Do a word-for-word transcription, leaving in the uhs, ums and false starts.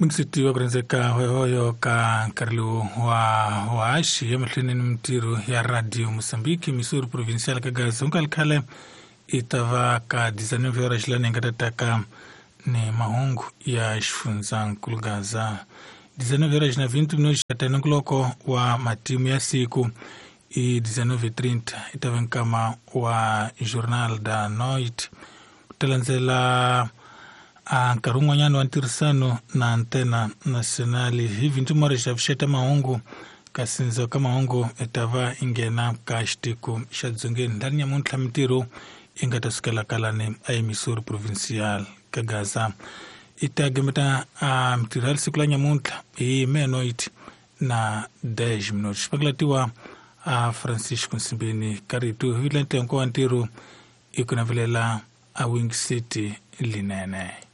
Mingisitiwa ku rhendzeka hoyohoyo ka nkarhi lowu wa waxi emahlweni ni mintirho ya Radio Mozambique Missouri Provincial ka Gaza ku nga ri khale i ta va ka dezenove horas lani hi nga ta taka ni mahungu ya xifundzankulu Gaza dezenove horas na vinte minutos ta nongonoko wa matimu ya siku i dezenove trinta i ta va nkama wa Jornal da Noite ku ta landzela a nkarhi wun'wanyana wa ntirhisano na Antena Nacional hi vinte horas xa vuxeta mahungu kasi ndzhaku ka mahungu i ta va i nghena ka xitiko xa dzongeni lani nyamuntlha mintirho yi nga ta sukela kalani a Emissora Provincial ka Gaza i ta gemeta a mintirho ya siku la nyamuntlha hi meia-noite na dez minutos xipakilatiwa a Francisco Nsimbini ka rito hi vitla ntengo wa ntirho i ku navelela a Wing City linene.